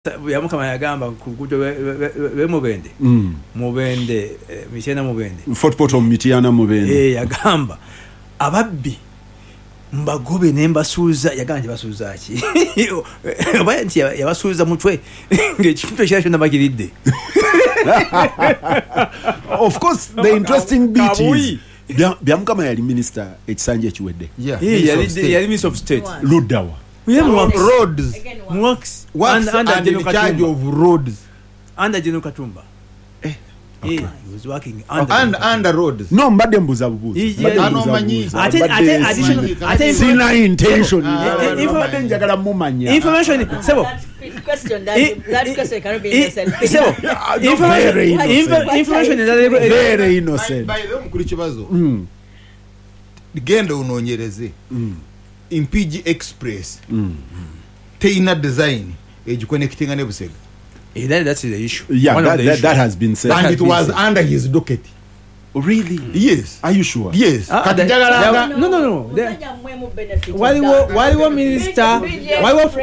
Byamukama yagamba ku luguudo lw'e Mubende, Mubende, Mityana Mubende. Fort Portal, Mityana Mubende. Yagamba ababbi mbagobe ne mbasuuza. Yagamba nti basuuza ki, oba nti yabasuuza mutwe ng'ekintu ekirala kyonna bakiridde. Of course, the interesting bit is Kabuyi. Byamukama yali minister ekisanja ekiwedde. Yeah, Eh, Minister of State. Yali Minister of State. Luddawa? Ye mu works. Roads. Mu works. Works Under and in General charge Katumba. of roads. Under General Katumba. Okay. He was working under And General Katumba. under roads. No, mbadde mbuza bubuuzi. Mbadde Ano mbuza manyi. bubuuzi. Ate additional Sina intention. Ah, Mbadde njagala mumanya. Information, sebo. Question, that question cannot be innocent. Sebo. No, very Information innocent. information endala Very innocent. By the way, mukulu Kibazo, genda onoonyereze Mpigi Express teyina design egiconnectinga ne Busega. That's the issue. Yeah, One of the issues. that has been said. And Has it been was said. under his docket. Really? Yes. Are you sure? Yes. Ah, Kati njagalanga No. Musajja mmwe mu benefit of Waliwo that. waliwo minister,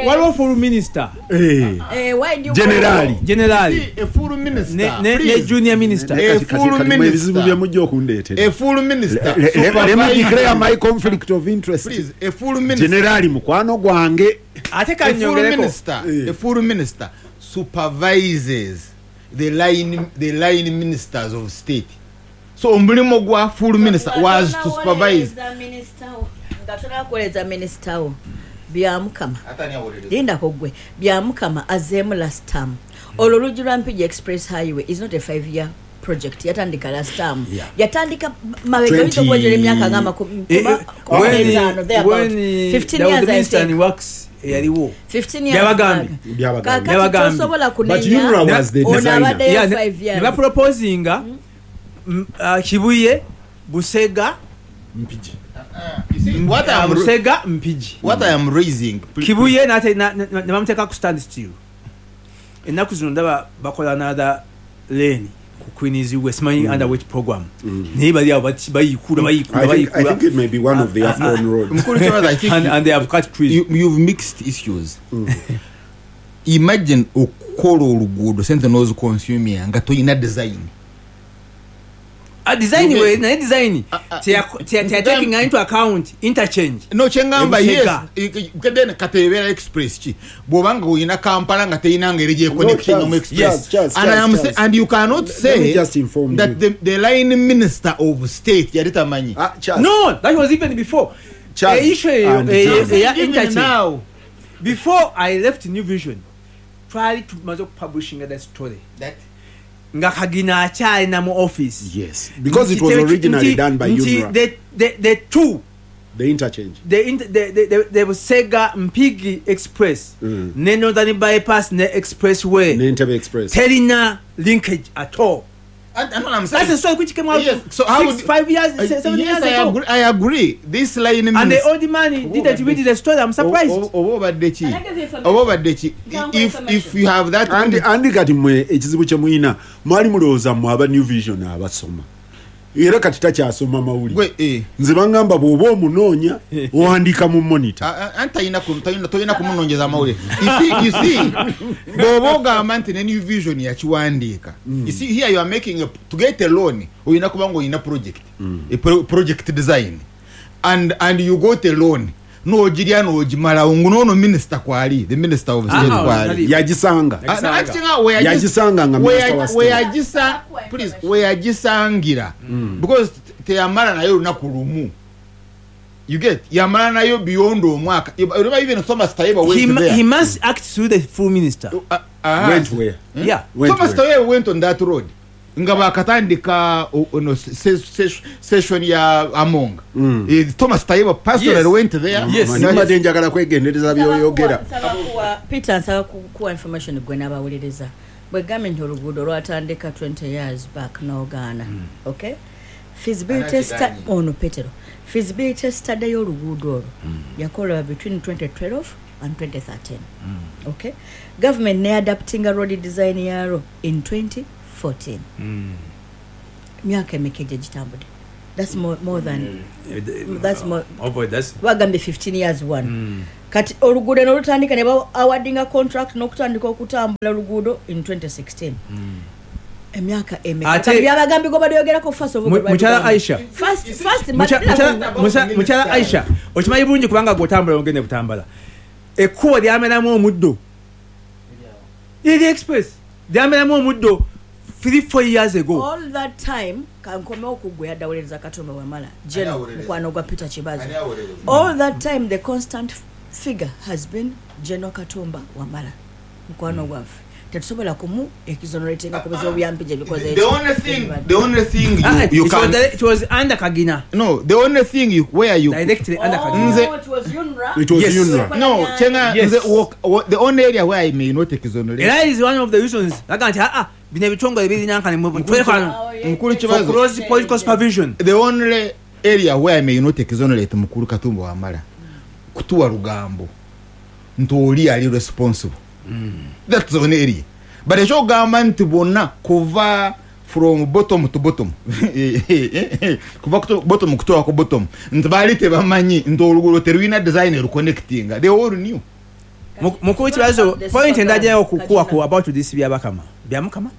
waliwo full minister. Eh. Eh, why do you Generali. General. A full minister, Ne please. junior minister. A full Kati mwe ebizibu minister. bye mujja okundeetera. A full minister Let me declare supervising- my conflict of interest. Please, a full minister. Generali mukwano gwange. Ate A full kanyongereko. minister, Eh. a full minister supervises the line ministers of state. So omulimu gwa full minister was to supervise. Nga tonakuweereza minisita wo, Byamukama, lindako gwe. Byamukama azeemu last term. Olwo oluggi lwa Mpigi Express Highway is not a 5-year project. Yatandika last term. Yatandika mabega, oyinza okuwejera emyaka nga amakumi 15, thereabout. When 15 there was years, the I minister think. in works eyaliwo. 15 years Byabagambye. back. Byabagambye. Kaakati Byabagambye. tosobola But kunenya UNRA was the ono designer. abaddeyo Yeah, 5 ne years. baproposinga Kibuye, Busega, Mpigi. You see, what I am Busega, Mpigi. What I am raising, Kibuye nate ne bamuteeka ku stand still. Ennaku zino ndaba bakola another lane ku Queens Way, simanyi under which program, naye bali awo bayikula, bayikula, I think, I bayikula. think it may be one of the AFCON roads. Mukulu Kibazo, I think And they have cut trees. You've mixed issues. Imagine okukola oluguudo, sente n'oziconsumia nga toyina design. Ah, design You we get- naye design Ah, teyatekinga into account interchange. No, kyengamba, yes. Ebusega. Then kati ebeera express ki bw'obanga oyina Kampala nga teyina ngeri gyeconnectinga mu No, express? Charles, Charles, And I am Charles, and you cannot Let say me just inform that you. the line minister of state yali tamanyi. Ah, Charles. No, that was even before. Charles Issue eyo and eya Charles. Even interchange, now before I left New Vision, twali tumaze okupublishinga that story that nga Kagina akyalina mu office. Yes, because it was originally done by Nti UNRA, the two the interchange. The, inter, the Busega Mpigi Express ne Northern Bypass ne Expressway Entebbe Express. terina linkage at all. And what I'm saying, That's a story which came out Yes, so how six, would- 5 years, 7 yes, years I ago. agree, I agree. This line And the minister old man didn't read the story. I'm surprised. Oba obadde ki? Can I give you information? Oba obadde ki? Ntango If information. you have that Andi kati mmwe ekizibu kye muyina, mwali mulowooza mmwe aba New Vision abasoma, era kati takyasoma mawulire. Gwe, eh. Nze baŋŋamba bw'oba omunoonya owandiika mu Monitor. Ah, ah, anti toyina kumunoonyeza amawulire. You see, bw'oba ogamba nti ne New Vision yakiwandiika, you see, here you are making to get a loan oyina kuba nga oyina project, a project design, and you got a loan n'ogirya n'ogimalawo ngu noono minisita kwali, the minister of state Ah, kwali. tali- Yagisanga. Ah, no, actually, nga Yagisanga nga minister wa state. Please, weyagisangira, because teyamala nayo olunaku lumu. You get, yamala nayo beyond omwaka. Remember, even Thomas Tayebwa went there. He must act through the full minister. Went where? Yeah. Went Thomas where? Tayebwa went on that road nga bakatandika ono session ya Among. Thomas Tayebwa personally went there. Yes. Manyi mbadde njagala kwegendereza byoyogera. Nsaba Peter, nsaba kuwa information gwe n'abawuliriza. Bwe gambye nti oluguudo lwatandika 20 years back n'ogaana, okay, feasibility Anakigaanye. ono Petero, feasibility study y'oluguudo olwo yakolebwa between 2012 and 2013, okay? Government ne adaptinga road design yalwo in 2014. Myaka emeka egyo gitambudde? That's more than that's more. Oh boy, that's Bagambye 15 years one. Kati oluguudo nolutandika ne ba awardinga contract n'okutandika okutambula oluguudo in 2016. Emyaka emeka? Kati byabagambye gobadde oyogerako first of all Mukyala Aisha. First Mukyala Aisha, okimanyi bulungi kubanga gw'otambula ogende butambala, ekkubo lyameramu omuddo, eri express lyameramu omuddo 3-4 years ago. All that time, kankomewo ku gwe yaddawolereza Katumba Wamala, General Ani awolereza? mukwano gwa Peter Kibazo. Ani awolereza? All that time the constant figure has been General Katumba Wamala, mukwano gwaffe. Tetusobola kumu exoneratinga ku bizibu bya Mpigi ebikoze The only thing, the only thing you, you It was can it was under Kagina. No, the only thing you where you Directly under Oh, Kagina. Nze- it was UNRA. It was Yes. UNRA. No, chenga Yes. nze the only area where I may not exonerate. Era is one of the reasons laga nti bino ebitongole birinankane twekano Oh, yeah, Mukulu yeah, Kibazo. for close political supervision. The only area where I may not exonerate Mukulu Katumba Wamala kutuwa lugambo nti oli ali responsible. That's the only area. But ekyogamba nti bonna kuva from bottom to bottom, kuva bottom kutuwa ku bottom, nti baali tebamanyi nti oluguudo terulina design eruconnectinga. They all knew. Mukulu Kibazo, The point second endagyayo one, okukuwa ku Kagina. about this byabakama, byamukama.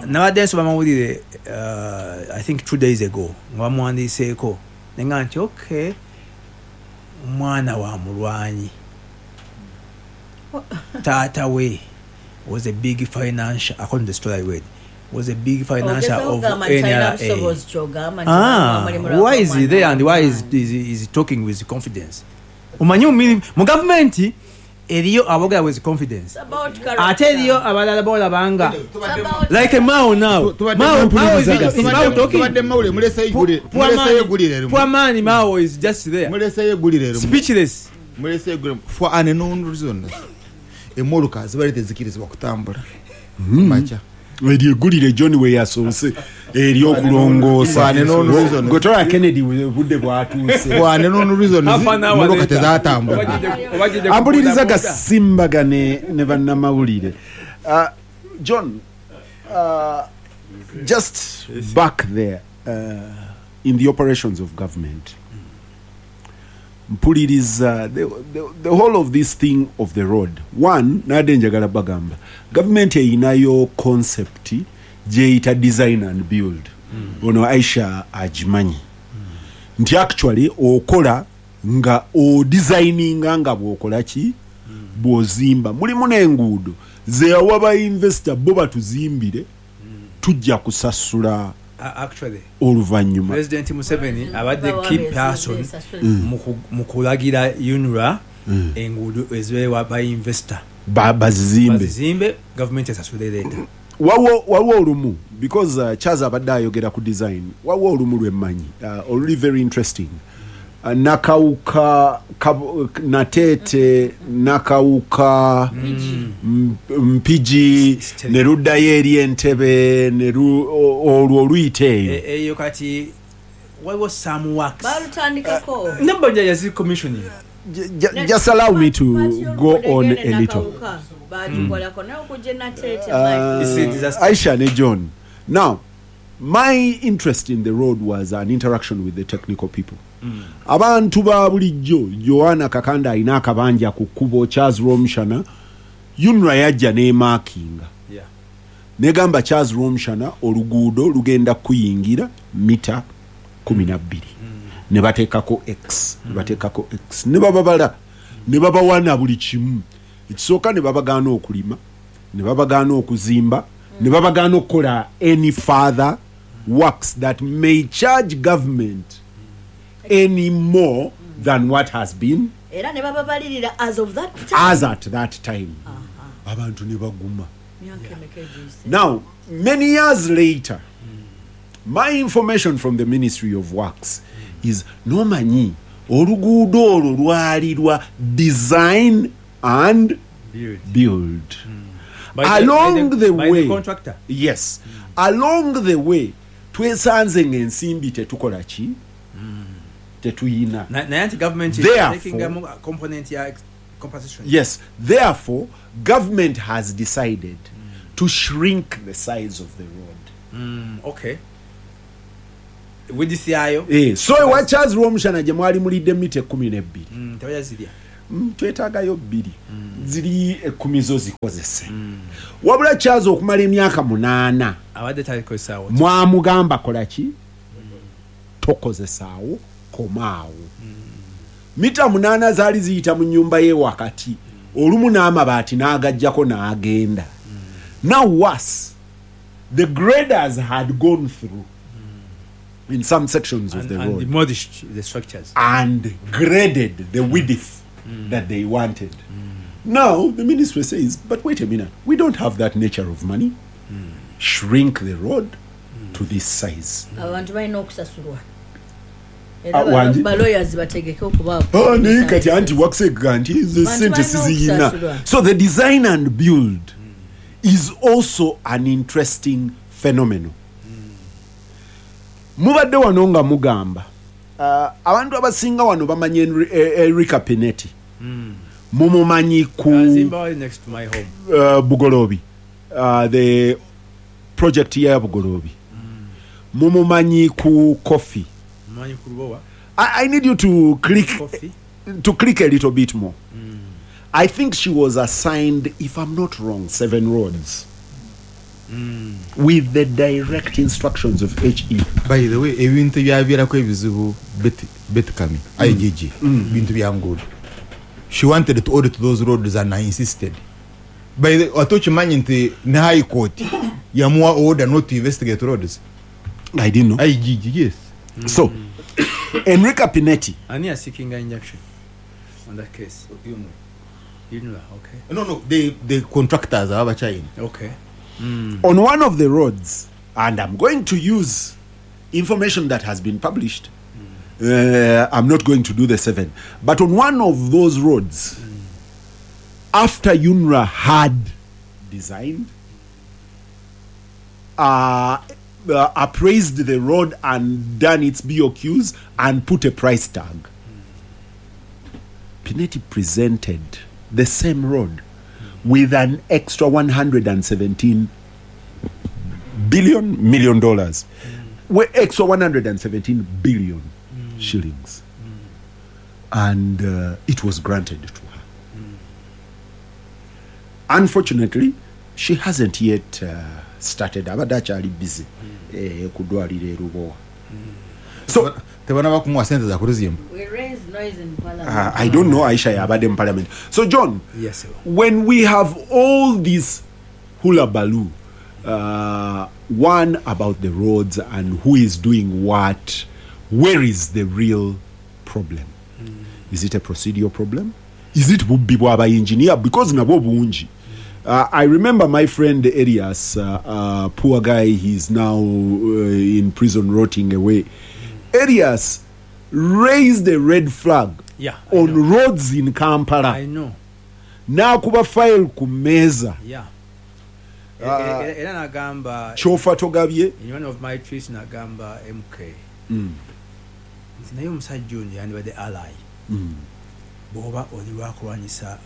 Nabadde nsoma mawulire, I think 2 days ago, nga bamuwandiiseeko nenga nti okay, omwana wa mulwanyi, taata we was a big financial, according to the story I read, was a big financier Ogezaako of kugamba nti talina NRA. busobozi ky'ogamba nti mulimu Why is he lwa there and why mwana. is he talking with confidence? Omanyi mu gavumenti eriyo aboogera with confidence, It's about character. ate eriyo abalala bolabanga It's about like Mao now. Mao is Mao talking. Tubadde mawulire, muleseyo Poor muleseyo eggulire limu. Poor man Mao is just there, Muleseyo eggulire limu. speechless. Muleseyo eggulire for unknown reasons. Emmotoka zibadde tezikirizibwa kutambula makya. Eryo eggulire John we yasoose eryokulongoosa. Wane no reason. Gwe Kennedy budde bwatuuse. For unknown reasons, Half an hour emmotoka later. tezatambula. Obajjidde Ampuliriza kubuuza. gasimbagane ne bannamawulire. John, just back there, in the operations of government, mpuliriza the whole of this thing of the road one, nadde njagala bagamba gavumenti eyinayo concept gyeyita design and build. Ono Aisha agimanyi nti actually okola nga odesigninga nga bwokola ki bw'ozimba. Mulimu n'enguudo zeyawa ba investor bo batuzimbire, tujja kusasula Actually, oluvannyuma. President Museveni abadde Bawa key besi- person besasule. mu kulagira UNRA enguudo ezibeewa ba investor bazizimbe. Bazizimbe, gavumenti esasule leeta. Waliwo olumu because Charles abadde ayogera ku design, waliwo olumu lwemmanyi, oluli very interesting, Nakawuka Nateete, Nakawuka, Mpigi, ne luddayo eri Entebe ne olwo oluyita eyo. Eyo kati waliwo some works Balutandikako. Nabanja yazi commissioning. Just allow me to go on a little. Bagikolako naye okujja Nateete. It's a disaster. Aisha ne John. Now, my interest in the road was an interaction with the technical people. Abantu ba bulijjo, Joanna Kakanda alina akabanja ku kkubo, Charles Romshana, UNRA yajja n'emarkinga. Negamba Charles Romshana oluguudo lugenda kuyingira mita 12. Ne bateekako X, ne bateekako X, ne bababala, ne babawana buli kimu. Ekisooka ne babagaana okulima, ne babagaana okuzimba, ne babagaana okukola any further works that may charge government any more than what has been Era ne bababalirira as of that time. As at that time. Abantu ne baguma. Myaka emeka egiyise? Now, many years later, my information from the Ministry of Works is nomanyi oluguudo olwo lwali lwa design and Build. build. By Along the by way, the contractor. Yes, along the way twesanze ng'ensimbi tetukola ki, tetuyina. Naye anti government is taking a component ya compensation. Yes, therefore government has decided to shrink the size of the road. Okay. Width yayo. So ewa Charles Rwomushana gye mwali mulidde mita 12. Tebajazirya. Twetaagayo 2. Ziri 10 zo zikozese. Wabula Charles okumala emyaka 8 abadde talikozesaawo. Mwamugamba kola ki? Tokozesaawo, komaawo. Mita 8 zaali ziyita mu nnyumba ye wakati. Olumu n'amabaati n'agajjako n'agenda. Now worse, the graders had gone through in some sections of the and road demolished the structures and graded the width that they wanted. Now the ministry says, but wait a minute, we don't have that nature of money. Shrink the road to this size. Abantu balina okusasulwa. Wangi? Balawyers bategeke okuba. Oh, naye kati anti wakusega nti ezo Bantu sente balina siziyina. okusasulwa. So the design and build is also an interesting phenomenon. Mubadde wano nga mugamba abantu abasinga wano bamanyi Enrica Pinetti. Mumumanyi ku Azimba wali next to my home. Bugolobi, the project ya Bugolobi. Mumumanyi ku coffee. Mumanyi ku Lubowa. I need you to click Coffee. to click a little bit more. I think she was assigned, if I'm not wrong, 7 roads with the direct instructions of HE. By the way, ebintu byaviirako ebizibu Betty Kami, IGG, bintu bya nguudo. She wanted to audit those roads and I insisted. By the ate okimanyi nti ne High Court yamuwa order not to investigate roads. I didn't know. IGG, yes. So, Enrica Pinetti. Ani seeking an injunction on that case? You know, okay. No, the contractors are China. Okay. On one of the roads, and I'm going to use information that has been published. I'm not going to do the 7. But on one of those roads, after UNRA had designed, appraised the road and done its BOQs and put a price tag, Pinetti presented the same road with an extra $117 million dollars. Extra 117 billion shillings. And it was granted to her. Unfortunately, she hasn't yet started. Abadde akyali busy ku ddwaliro e Lubowa. So tebannaba kumuwa sente za kuluzimba. We raise noise in parliament. I don't know Aisha yabadde mu parliament. So John, Yes, sir. when we have all this hula baloo, one about the roads and who is doing what, where is the real problem? Is it a procedural problem? Is it bubbi bw'aba engineer? Because nabwo bungi. I remember my friend Elias, poor guy, he's now in prison rotting away. Elias raised a red flag Yeah, I on know. roads in Kampala. I know. N'akuba file ku mmeeza. Yeah. Era nagamba Kyofa togabye. In one of my tweets nagamba MK. Nti naye omusajja ono yandibadde ally. Bw'oba oli lwakulwanyisa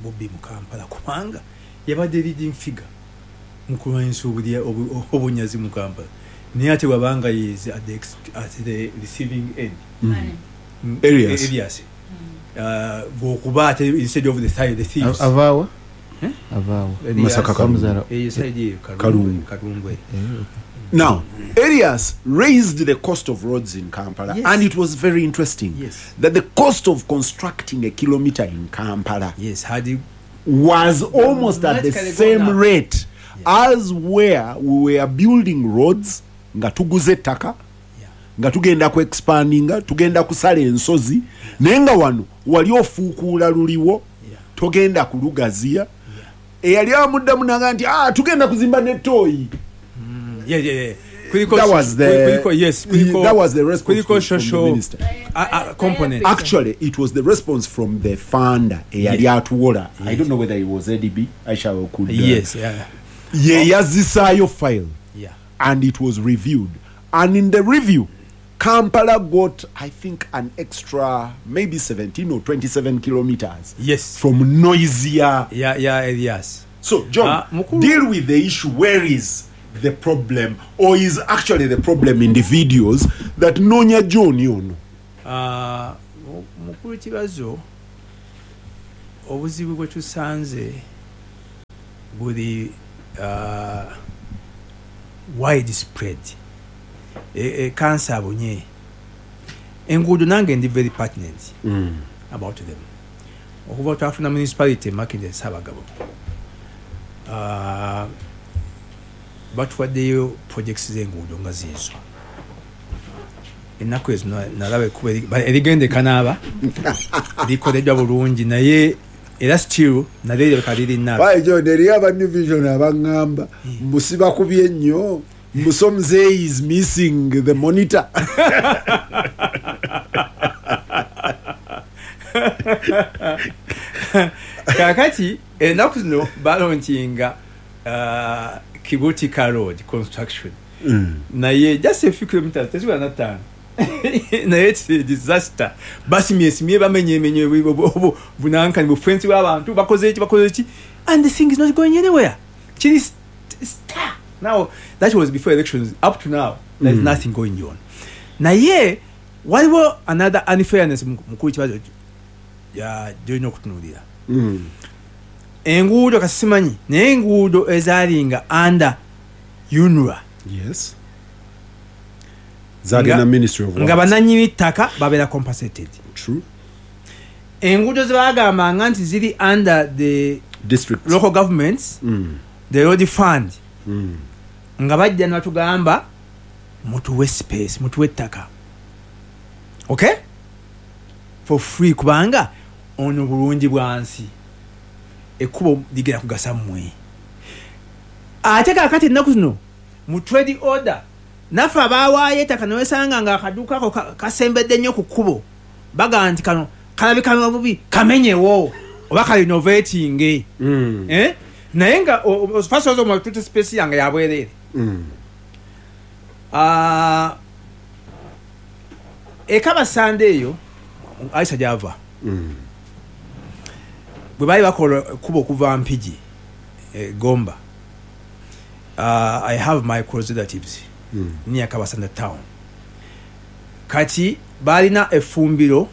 bubbi mu Kampala kubanga yabadde leading figure mu kulwanyisa obunyazi mu Kampala. Naye ate bw'abanga is at the receiving end. Elias. Elias. Bw'okuba ate instead of the side, the thieves. Avaawa? Eh? Avaawa. Masaka Kalungu. Eyo side eyo Kalungu. Kalungu. Now, Elias raised the cost of roads in Kampala, Yes. and it was very interesting Yes. that the cost of constructing a kilometer in Kampala Yes, had you was almost at the Dramatically same gone up. rate as where we were building roads nga tuguze ettaka Yeah. nga tugenda ku expandinga tugenda kusala ensozi naye nga wano wali ofuukuula luliwo Yeah. togenda kulugaziya eyali amuddamu naga nti ah, tugenda kuzimba netooyi Yeah. Kuliko, That was the kuliko, yes, kuliko, that was the response kuliko from the social minister. component. Actually, it was the response from the funder eyali atuwola. I don't know whether it was ADB. Aisha could Yes, yeah. ye yazisaayo file Yeah. and it was reviewed. And in the review, Kampala got, I think, an extra maybe 17 or 27 kilometers Yes. from noisier. Yeah, yes. So, John, Mukulu- deal with the issue. Where is the problem, or is actually the problem individuals that noonya John ono? Mukulu Kibazo, obuzibu bwe tusanze buli widespread. Kansa abonye enguudo, nange ndi very pertinent about them. Okuva twafuna municipality Makindye Ssaabagabo, batuwaddeyo projects z'enguudo nga ziizo. Ennaku ezo nalaba ekkubo erigenda ekanaaba likoleddwa bulungi, naye era still nalyo lirabika liri Why, John, eriyo aba New Vision abaŋŋamba mbusiba kubye nnyo, mbu Mzee is missing the monitor. Kakati ennaku zino balaunchinga Kibutika Road construction, naye just a few kilometers, teziwera na 5, naye it's a disaster. Basimyesimye, bamenyemenye bunankani bufensi bw'abantu, bakoze eki, bakoze eki, and the thing is not going anywhere. Kiri star now. That was before elections. Up to now there is nothing going on. Naye waliwo another unfairness, mukulu Kibazo, gyolina okutunuulira. Enguudo kasimanyi, naye enguudo ezaalinga under UNRA, zagenda Ministry of nga Works. Bannannyini ttaka babeera compensated. True. Enguudo ze bagambanga nti ziri under the district local governments, the road fund, nga bajja ne batugamba mutuwe space, mutuwe ettaka, okay, for free, kubanga ono bulungi bwansi, ekkubo ligenda kugasa mmwe. Ate kakati ennaku zino mu trade order, naffe abawaayo ettaka newesanga nga akaduuka ako kasembedde nnyo ku kkubo, bagamba nti kano kalabika bubi, kamenyewo oba karenovatinge. Eh? Naye nga first of all, tutte space yange yabwereere. Ah, ekabasanda eyo Aisha gyava, bwe baali bakola ekkubo okuva Mpigi Gomba, I have my close relatives near Kabasanda town. Kati balina efumbiro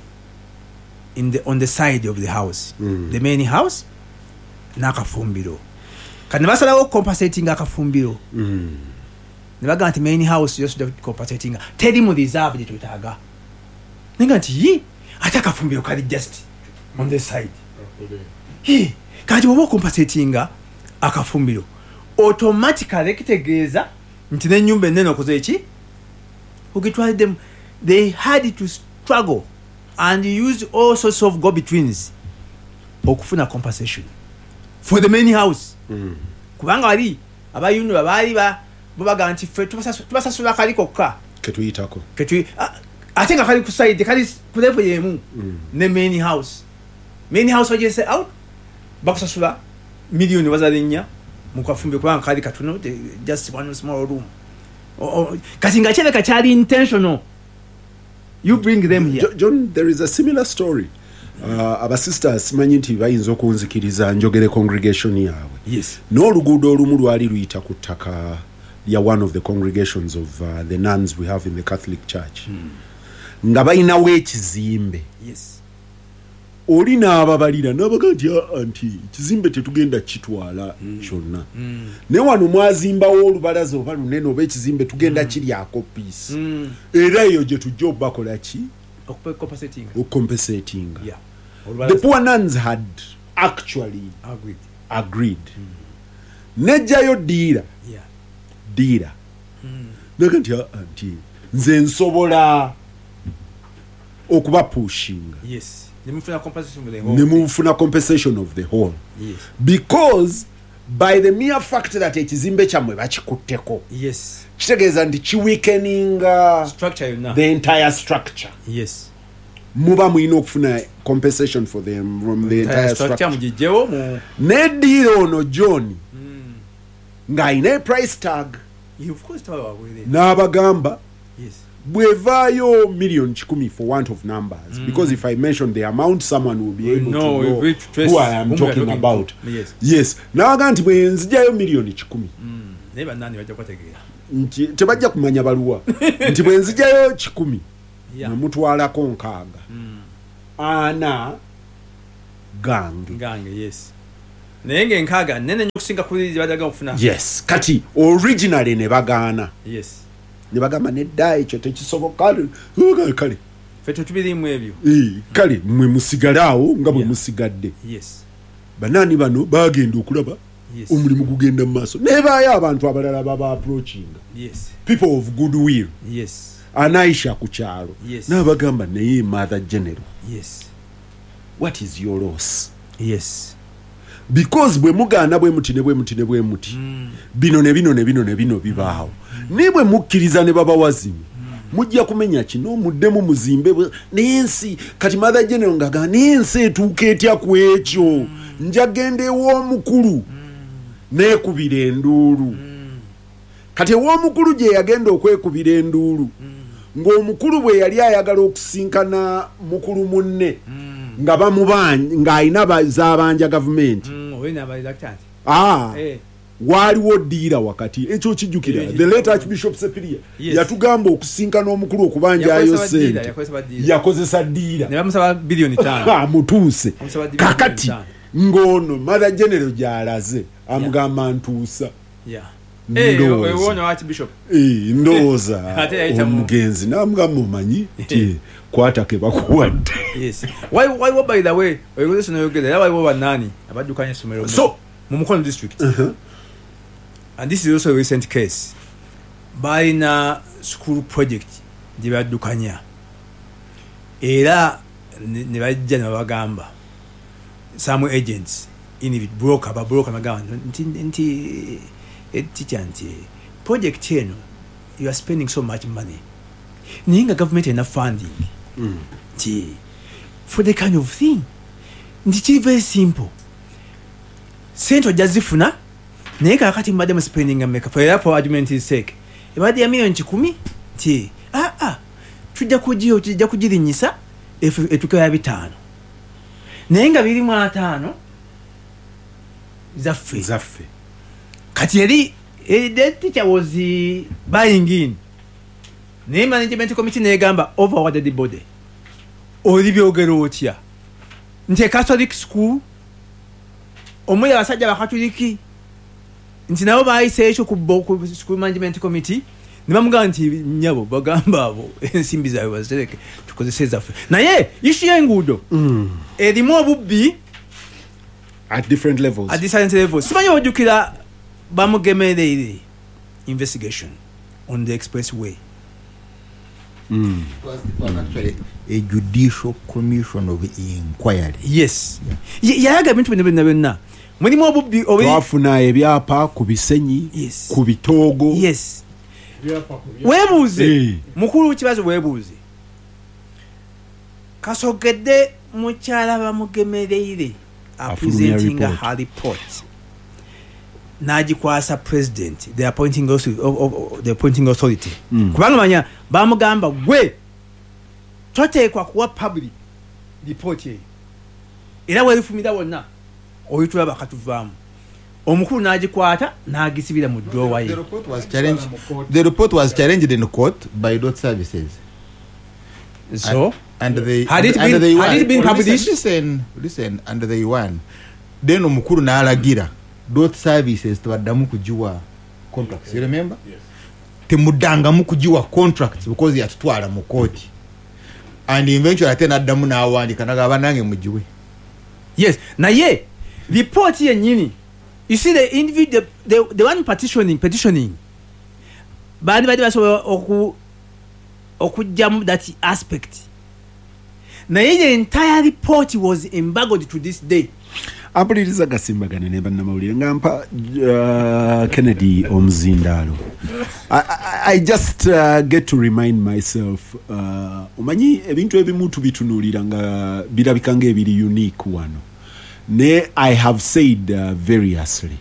on the side of the house, the main house n'akafumbiro. Kati ne basalawo compensating akafumbiro, ne bagamba nti main house yo sijja compensating, teri mu reserve gye twetaaga. Nenga nti yi, ate akafumbiro kali just on the side. Hi, kati bw'oba ocompensatinga akafumbiro, automatically kitegeeza nti n'ennyumba ennene okoze eki, ogitwaliddemu. They had to struggle and use all sorts of go betweens okufuna compensation for the main house, kubanga wali aba UNRA baali bo bagamba nti ffe tubasasula kali kokka ketuyitako. Ate nga kali ku side, kali ku level yemu ne main house. Main house ogese out, bakusasula miliyoni wazali 4 mu kafumbi, kubanga kali katono, just one small room. Kati nga kirabika kyali intentional. You bring them here. John, there is a similar story. Abasisters simanyi nti bayinza okunzikiriza njogere congregation yaabwe. N'oluguudo olumu lwali luyita ku ttaka lya one of the congregations of the nuns we have in the Catholic Church, nga balinawo ekizimbe. Oli n'ababalira n'abaga nti, "Ah, nti ekizimbe tetugenda kitwala kyonna, naye wano mwazimbawo olubalaza oba lunene oba ekizimbe, tugenda kiryako piece, era eyo gye tujja obakola ki?" Compensating. Okucompensatinga. The poor nuns had actually agreed. Agreed. Nejjayo dealer, dealer naga nti, "Ah, nti nze nsobola okubapushinga." Yes, nemufuna compensation with the whole. Nemufuna compensation of the whole, because by the mere fact that ekizimbe kyammwe bakikutteko, kitegeeza nti kiweakeninga structure yonna, the entire structure. Muba mulina okufuna compensation for them from the entire entire structure structure. Mugijjewo mu Neddiira ono John ng'alina price tag. Yeah, of course, tawala wabwereere. N'abagamba bwevaayo 100,000,000 for want of numbers, because if I mention the amount, someone will be able No, to we know will trace who I am whom we are talking talking about. to. Yes. Yes, n'abaga nti bwe nzijjayo 100,000,000, Naye bannani bajja kubategeera. Nti tebajja kumanya baluwa, nti bwe nzijayo 100 nemutwalako 60, 40 gange. Gange, yes. Naye ng'enkaaga nene nnyo okusinga kuli zebaddaga okufuna. Yes, kati originally ne bagaana. Yes. Ne bagamba nedda, ekyo tekisoboka. Kale ffe tetubirimu ebyo. Kale mwe musigale awo nga bwe musigadde. Yes. Banani bano bagenda okulaba omulimu gugenda mu maaso, nebaayo abantu abalala baba approachinga. Yes. People of goodwill. Yes. Anaisha ku kyalo. Yes. N'abagamba naye Mother General. Yes. What is your loss? Yes. Because bwe mugaana bwe muti ne bwe muti ne bwe muti, bino ne bino ne bino ne bino bibaawo. Naye bwe mukkiriza ne babawa zino, mujja kumenya kino, muddemu muzimbe naye ensi. Kati Mother General ng'agamba naye ensi etuuka etya ku ekyo? Nja genda ew'omukulu neekubira enduulu. Kati ew'omukulu gye yagenda okwekubira enduulu, ng'omukulu bwe yali ayagala okusinkana mukulu munne, nga bamubanja, ng'alina z'abanja gavumenti. Waaliwo ddiira wakati, ekyo kijjukira. The late Archbishop Sepiria yatugamba okusinkana omukulu okubanjayo ssente, yakozesa ddiira ne bamusaba biliyoni 5. Amutuuse. Kakati ng'ono Mother General gy'alaze amugamba ntuusa. Ndowooza omugenzi n'amugamba omanyi nti kwata ke bakuwadde. Yes. Waliwo, by the way, oyogeresa n'oyogera, era waliwo bannaani abaddukanya essomero mu Mukono district. And this is also a recent case. Balina school project gye baddukanya, era ne bajja ne babagamba some agents in broker, babroker bagamba nti teacher nti project eno you are spending so much money, naye nga government erina funding nti for the kind of thing, nti kiri very simple, sente ojja zifuna, naye kakati mubadde mu spending meka, for argument's sake ebadde ya miliyoni 100, nti tujja kugirinyisa etuuke ya 5, naye nga 25 zaffe. Kati eri the teacher was buying in, naye management committee negamba over the body, oli byogera otya nti Catholic school omuli abasajja bakatuliki, nti nabo bayise ekyo ku school management committee ne bamugamba nti nnyabo bagamba abo ensimbi zaabwe bazitereke tukozese zaffe. Naye issue y'enguudo erimu obubbi at different levels. At different levels. Simanyi ojjukira bamugemereire investigation on the expressway. It was actually a judicial commission of inquiry. Yes. Yayaga ebintu bino byonna byonna. Mulimu obubbi twafuna ebyapa ku Bisenyi, ku Bitoogo. Yes. Weebuuze mukulu kibazo, weebuuze kasogedde mukyala bamugemereire presenting her report n'agikwasa president, the appointing authority. Kubanga manya bamugamba gwe toteekwa kuwa public report eyo, era werifumira wonna oyitula bakatuvaamu. Omukulu n'agikwata n'agisibira mu drawer ye. The report was challenged in court by dot services. So and they had it been published? Listen, and they won. Then omukulu n'alagira dot services tebaddamu kugiwa contracts. You remember? Yes. Temuddangamu kugiwa contracts because yatutwala mu kooti. And eventually ate n'addamu n'awandiika n'agamba nange mugiwe. Yes. Naye report yennyini, you see the individual, the one petitioning baali badde basobola okuggyamu that aspect, naye the entire report was embargoed to this day. Ampuliriza gasimbagane ne bannamawulire nga mpa Kennedy omuzindaalo. I just get to remind myself, omanyi ebintu ebimu tubitunuulira nga birabika ng'ebiri unique wano. Ne I have said variously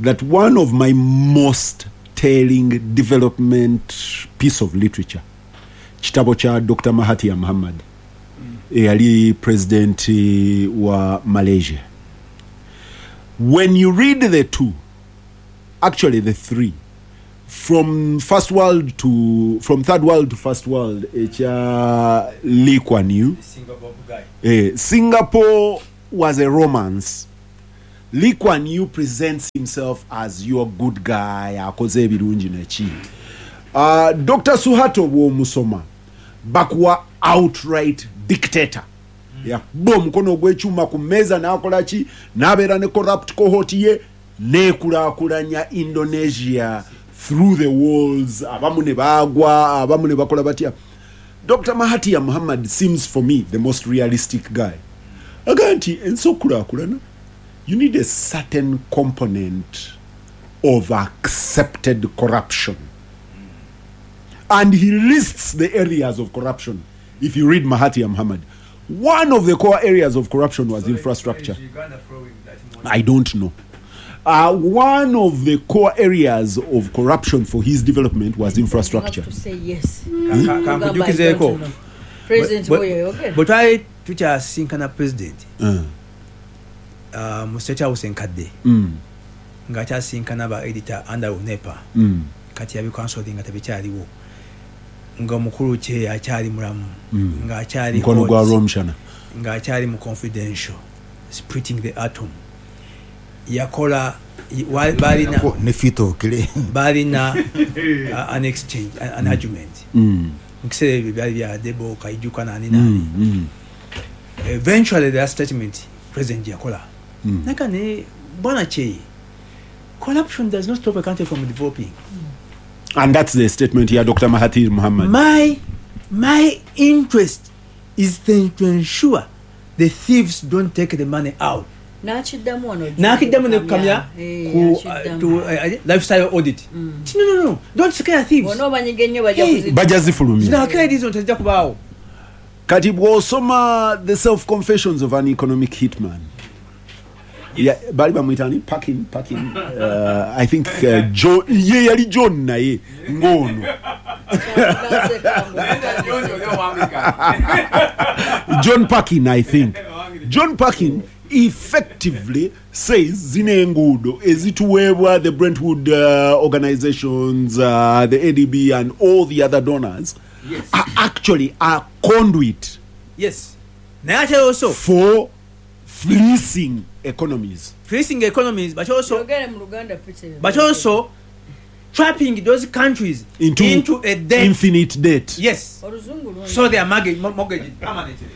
that one of my most telling development piece of literature kitabo kya Dr. Mahathir Mohamad, eyali president wa Malaysia. When you read the two, Actually the three, from first world to from third world to first world, ekya Lee Kuan Yew. Singapore was a romance. Lee Kuan Yew presents himself as your good guy, akoze ebirungi neki. Dr. Suharto bw'omusoma bakuwa outright dictator. Yakuba omukono ogw'ekyuma ku mmeeza n'akola ki, n'abeera ne corrupt cohort ye neekulaakulanya Indonesia through the walls, abamu ne baagwa, abamu ne bakola batya. Dr. Mahathir Muhammad seems for me the most realistic guy. Agamba nti ensi okulaakulana, you need a certain component of accepted corruption. And he lists the areas of corruption. If you read Mahathir Muhammad, one of the core areas of corruption was infrastructure. I don't know. One of the core areas of corruption for his development was infrastructure. You have to say yes. Kankujukizeeko. President bwe Bwe twali tukyasinkana president mu State House enkadde, ng'akyasinkana ba editor under UNEPA, kati yabikansoling nga tebikyaliwo, nga omukulu kye akyali mulamu, ng'akyali Mukono gwa hot, Rwomushana, ng'akyali mu Confidential, Splitting the Atom, yakola balina Ne feet of clay. Balina an exchange, an argument. Mu kiseera ebyo byali bya Debo Kaijuka nani nani. Eventually their statement president yakola naka ne bwana Cheye, corruption does not stop a country from developing. And that's the statement here, Dr. Mahathir Muhammad. My interest is then to ensure the thieves don't take the money out. N'akiddamu wano. N'akiddamu ne kukamya Eh, ku akiddamu. to lifestyle audit. No, don't scare thieves. Bonna obanyiga ennyo bajja Hey. Bajja zifulumya. Zino zino tezijja kubaawo. Kati bw'osoma The Self Confessions of an Economic Hitman, yeah, bali bamuyita ani? Parkin, I think John, ye yali John naye ng'ono John Parkin, I think John Parkin effectively says zino enguudo ezituweebwa the Brentwood organizations, the ADB and all the other donors are actually a conduit Yes, naye ate also for fleecing economies. Fleecing economies, but also Yogere mu Luganda, Peter. but also trapping those countries into a debt. Infinite debt. Yes. Oluzungu lungi. So they are mortgaged permanently.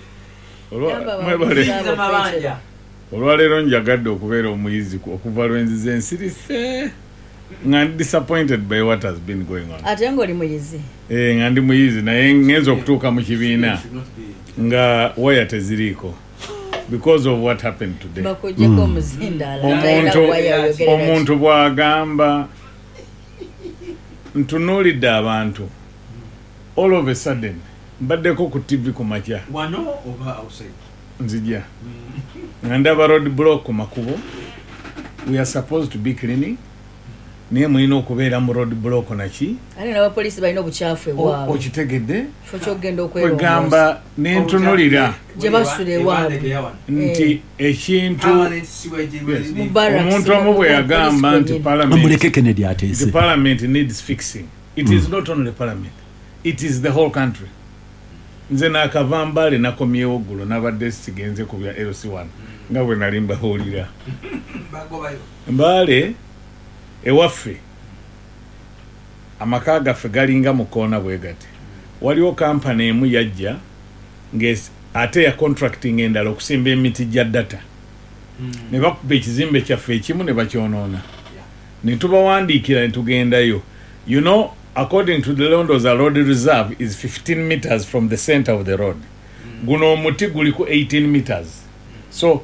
Yamba Mwebale. Ziyingiza mabanja. Olwaleero njagadde okubeera omuyizi okuva lwenzize ensirise nga ndi disappointed by what has been going on. Ate ng'oli muyizi. Eh, nga ndi muyizi naye ngenza okutuuka mu kibiina nga waya teziriiko because of what happened today. Bakuggyeko omuzindaalo. Omuntu bw'agamba ntunuulidde abantu, all of a sudden mbaddeko ku TV ku makya. Wano oba outside? Nzija nga ndaba road block ku makubo. We are supposed to be cleaning, naye mulina okubeera mu road block naki. Ate n'abapoliisi balina obukyafu ewaabwe. Okitegedde? Kifo ky'okugenda okwerongoosa. Kwegamba nentunulira Gye basula ewaabwe. nti ekintu Mu barracks, omuntu omu bwe yagamba police nti kwennyini. parliament Muleke Kennedy the ateese. parliament needs fixing. It is not only parliament, it is the whole country. Nze nakava Mbale, nakomyewo ggulo, nabadde sigenze ku bya LC1 nga bwe nali mbabuulira. Mbale ewaffe amaka gaffe galinga mu koona bwe gati. Waliwo kampani emu yajja ate ya contracting endala okusimba emiti gya data, ne bakuba ekizimbe kyaffe ekimu ne bakyonoona, ne tubawandiikira ne tugendayo. According to the Londoza road reserve is 15 meters from the center of the road. Guno omuti guliko 18 meters, so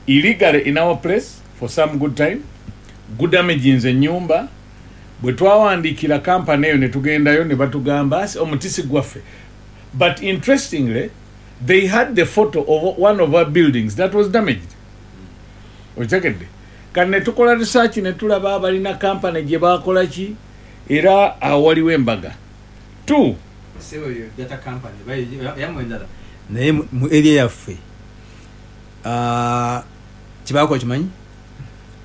illegally in our place for some good time gudamaginze ennyumba. Bwe twawandiikira kampani eyo ne tugendayo ne batugamba asi omuti si gwaffe. But interestingly they had the photo of one of our buildings that was damaged. Okitegedde? Kati ne tukola research ne tulaba abalina kampani gye bakola ki, era awo waliwo embaga two. Data company yammwe endala naye mu area yaffe, ah, kyebakola kimanyi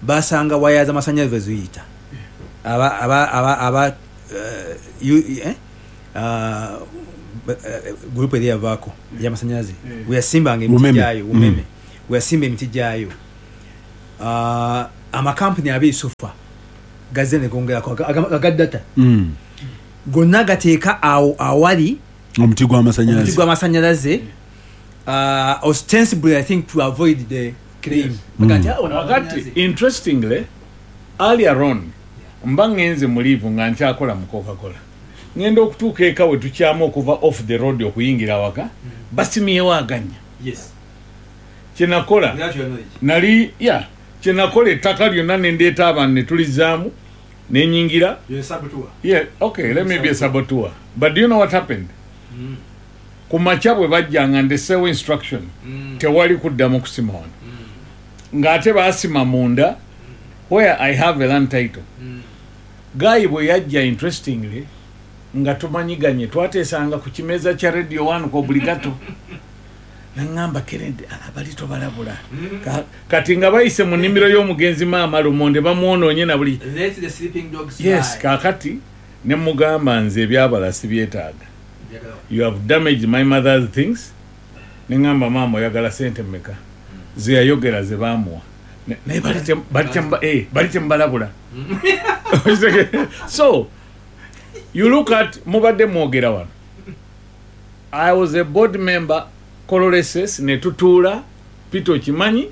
basanga waya z'amasanyalaze ziyita Aba group eri yavaako ey'amasannyalaze weyasimbanga emiti gyayo, Umeme weyasimba emiti gyayo, amakampuni abiri sofa gazze ne gongerako aga data gonna gateeka awo awali omuti gw'amasannyalaze, ostensibly I think to avoid the claim. Kakati interestingly earlier on mba ngenze mulivu nga nkyakola mu Coca-Cola, ngenda okutuuka eka we tukyamu okuva off the road okuyingira waka, basimyewo aganya. Kyenakola nali kyenakola ettaka lyonna nendeeta abantu ne tulizaamu nenyingira. Okay, let me be a saboteur. But do you know what happened? Ku makya bwe bajjanga ndesewo instruction, tewali kuddamu kusima wano, ng'ate baasima munda where I have a land title. Guy bwe yajja interestingly nga tumanyiganye, twateesanga ku kimeeza kya Radio 1 ku obligato, naŋŋamba Kennedy abali tobalabula. Kati nga bayise mu nnimiro y'omugenzi maama Lumonde bamwonoonye na buli. Yes, kaakati ne mugamba nze ebyabala sibyetaaga. You have damaged my mother's things. Ne ŋŋamba maama oyagala sente mmeka? Ze yayogera ze baamuwa. Naye bali temubalabula. So you look at mubadde mwogera wano. I was a board member Kololeses ne tutuula Peter okimanyi,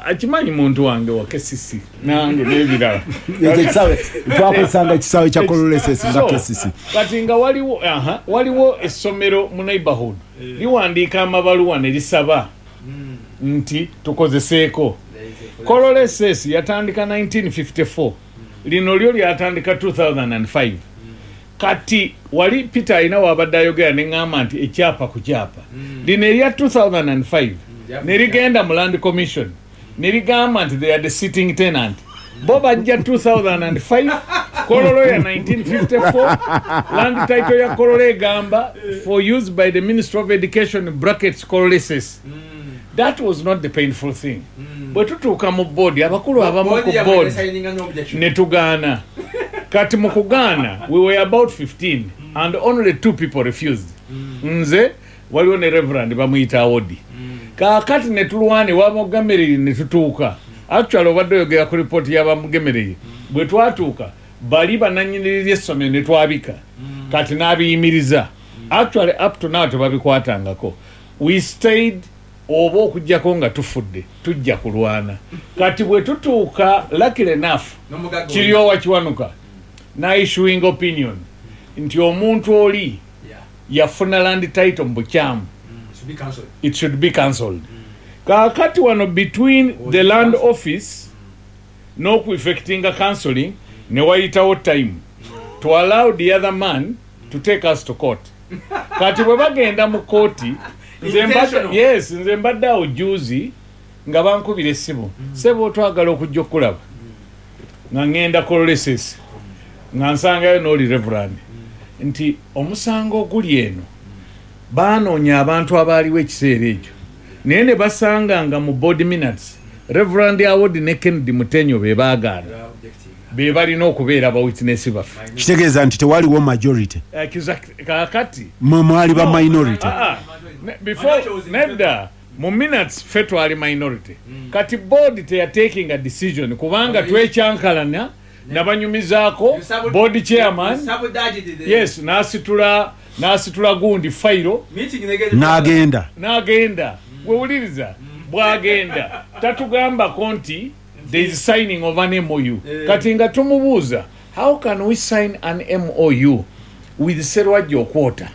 akimanyi muntu wange wa KCC nange n'ebirala. Twakozesanga ekisaawe kya Kololeses nga KCC. Kati nga waliwo essomero mu neighborhood liwandiika amabaluwa ne lisaba nti tukozeseeko. Kololeses yatandika 1954, lino lyo lyatandika 2005. Kati wali Peter alina wabadde ayogera ne ŋŋamba nti ekyapa ku kyapa lino erya 2005 ne ligenda mu Land Commission ne ligamba nti they are the sitting tenant. Bo bajja 2005, Kololo ya 1954, land title ya Kololo egamba for use by the Ministry of Education brackets Kololeses. That was not the painful thing. Bwe tutuuka mu board, abakulu abamu ku board ne tugaana. Kati mu kugaana we were about 15 and only 2 people refused. Nze waliwo ne Reverend bamuyita Awodi. Kaakati ne tulwane wamugemereri ne tutuuka. Actually obadde oyogera ku report y'abamugemereri. Bwe twatuuka bali bannannyini essomero ne twabika. Kati n'abiyimiriza. Actually up to now tebabikwatangako. We stayed oba okujjako nga tufudde tujja kulwana. Kati bwe tutuuka luckily enough Kiryowa Kiwanuka na issuing opinion nti omuntu oli yafuna land title mu bukyamu, it should be cancelled. Kaakati wano between the land office n'okueffectinga counseling ne wayitawo time to allow the other man to take us to court. Kati bwe bagenda mu kooti, nze mbadde awo juzi nga bankubira essimu, sebo twagala okujja okulaba, nga ŋŋenda Kololeses, nga nsangayo n'oli Reverend nti omusango oguli eno baanoonya abantu abaaliwo ekiseera ekyo, naye ne basanga nga mu board minutes Reverend Awodi ne Kennedy Mutenyo be baagaana, be balina okubeera ba witness baffe. Kitegeeza nti tewaliwo majority. Kaakati mwe mwali ba minority. Before nedda mu minutes ffe twali minority. Kati board teyataking a decision kubanga twekyankalana nabanyumizaako board chairman, yes, n'asitula gundi fayiro n'agenda. Wewuliriza bw'agenda tatugambako nti there is signing of an MOU. Kati nga tumubuuza how can we sign an MOU with Serwajja Okwota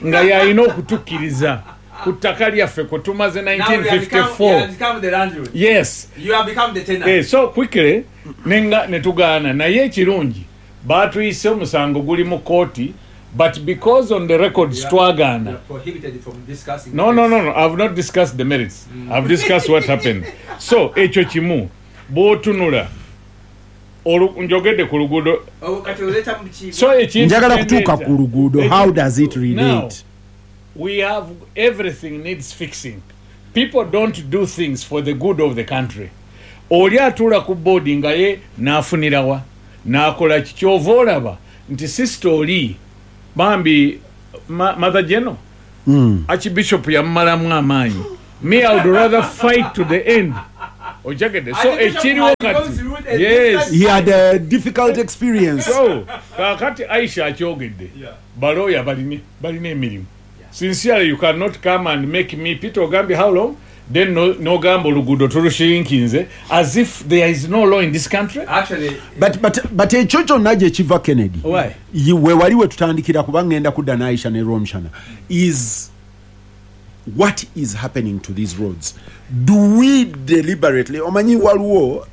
nga yalina okutukkiriza ku ttaka lyaffe kwe tumaze 1954. Yes. You have become the tenant. So quickly nenga ne tugaana, naye ekirungi baatuyise omusango guli mu kooti, but because on the records twagaana. No, I've not discussed the merits. I've discussed what happened. So ekyo kimu bw'otunula njogedde ku luguudo. So njagala kutuuka ku luguudo. How does it relate? Now, we have everything needs fixing. People don't do things for the good of the country. Oli atuula ku boodi nga ye n'afunirawa n'akola ki? Kyova olaba nti sister oli bambi Mother General Archbishop yamumalamu amaanyi. Me, I would rather fight to the end. Ojakedde. So Archbishop ekiriwo had kati gone through a yes He had a difficult experience. So kakati Aisha akyogedde, balooya balina emirimu. Sincerely, you cannot come and make me, Peter ogambye how long, then nogamba oluguudo tulushrinkinze as if there is no law in this country. Actually, But ekyo kyonna gye kiva, Kennedy, Why? We wali we tutandikira, kuba ngenda kudda n'Aisha ne Romshana, is what is happening to these roads. Do we deliberately, omanyi waliwo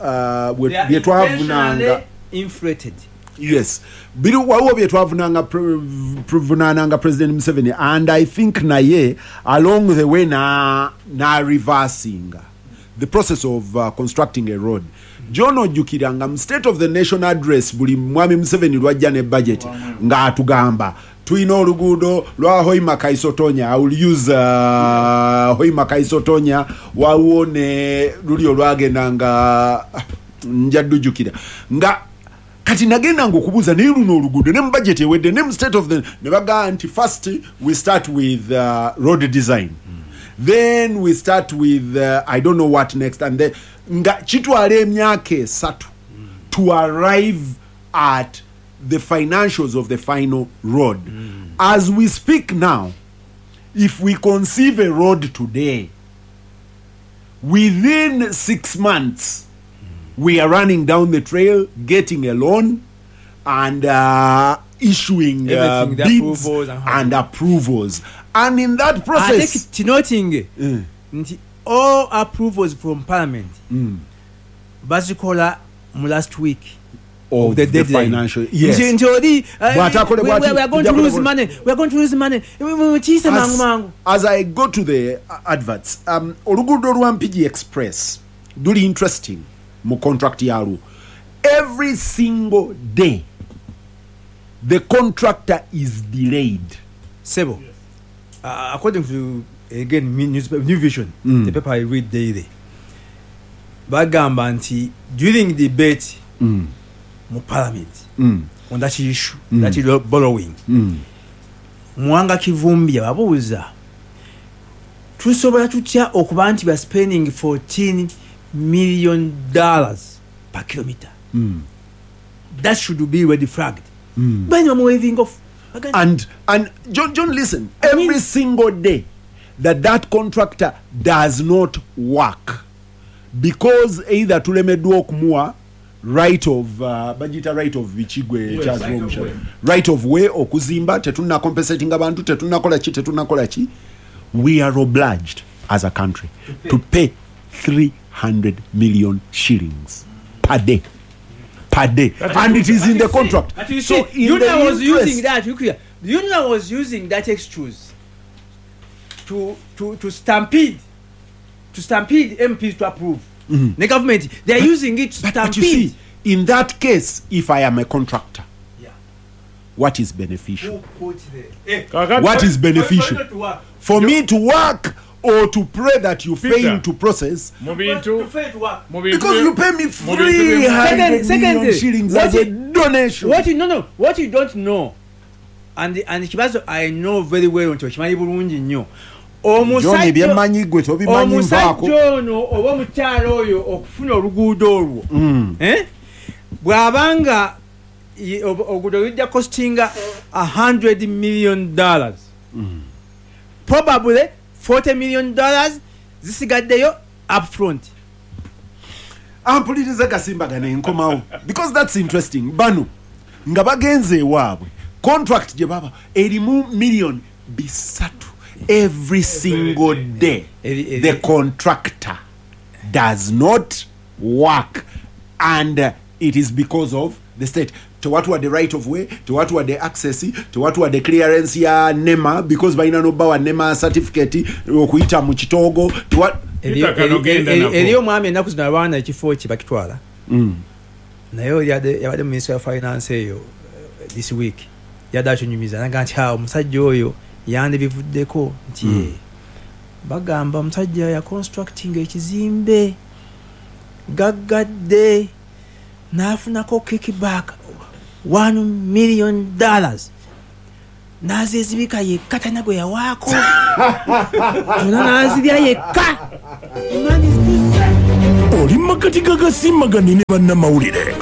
they are bye twavunanga intentionally inflated. Yes, biri waliwo bye twavunanga pruvunaananga President Museveni, and I think naye along the way na reversinga the process of constructing a road. John, ojjukira nga mu State of the Nation Address, buli Mwami Museveni lwajja ne budget ng'atugamba tulina oluguudo lwa Hoima Kaisotonya. I will use Hoima Kaisotonya. Waliwo ne luli olwagenda nga njadujjukira nga kati nagendanga okubuuza, naye luno oluguudo ne mu budget ewedde ne mu State of the, ne bagamba nti first we start with road design, then we start with I don't know what next, and then nga kitwala emyaka 3 to arrive at the financials of the final road. As we speak now, if we conceive a road today, within 6 months we are running down the trail, getting a loan and issuing Everything, the bids approvals and and approvals, and in that Ate process kinotinge nti all approvals from parliament bazikola mu last week of the the deadline. Financial, yes. Nti oli Bw'atakole bw'ati, we are going to tujja lose kukola- money, we are going to lose money. Kiyise mangu mangu. As I go to the adverts, oluguudo lwa Mpigi Express luli interesting mu contract yalwo. Every single day the contractor is delayed. Sebo, according to again newspaper, New Vision, the paper I read daily, bagamba nti during debate mu parliament on that issue, that is borrowing, Mwanga Kivumbi ababuuza, tusobola tutya okuba nti ba spending $14 million per kilometer? That should be red flagged. Bani bamu waving off. Bagamba, And John, listen, I every mean- single day that that contractor does not work because either tulemeddwa okumuwa right of bagiyita right of bikigwe, Yes, right of way. right of way okuzimba, tetunna compensating abantu, tetunnakola ki, tetunnakola ki, we are obliged as a country to pay 300 million shillings per day, per day, and it is in the contract. But you So see, in UNRA the was using interest- that. You clear. The UNRA was using that excuse to stampede MPs to approve. The government, they are using it to But stampede. you see, in that case, if I am a contractor, Yeah. what is beneficial? Who put the Kakati- What is beneficial? For you to work. For me to work or to pray that you Peter. fail to process? Mu To bintu fail to work. mu bintu Because you pay me mu bintu bye- 300 million Secondly, shillings what as a donation. What you no no what you don't know, and Kibazo, I know very well nti okimanyi bulungi nnyo. John, byemmanyi gwe tobimanyi, nvaako. Omusajja ono oba omukyala oyo okufuna oluguudo olwo, eh? Bw'abanga oluguudo lujja costinga $100 million, probably $40 million zisigaddeyo upfront. Ampuliriza gasimbagana enkomawo, because that's interesting. Bano nga bagenze ewaabwe, contract gye baba erimu miliyoni 300 every single day. The contractor does not work, and it is because of the state tewatuwadde right of way, tewatuwadde access, tewatuwadde clearance ya NEMA, because balina nobawa NEMA certificate okuyita mu kitoogo. Peter, kano genda nako. Eri omwami ennaku zino abaana ekifo kye bakitwala, naye oli yabadde mu ministry ya finance eyo this week yadde akinyumiza naga nti awo omusajja oyo yandibivuddeko nti bagamba omusajja yaconstructing ekizimbe. Gaggadde n'afunako kickback $1 million, n'azezibika yekka, talina gwe yawaako, zonna n'azirya yekka. Oli makati gagasimbagane ne bannamawulire.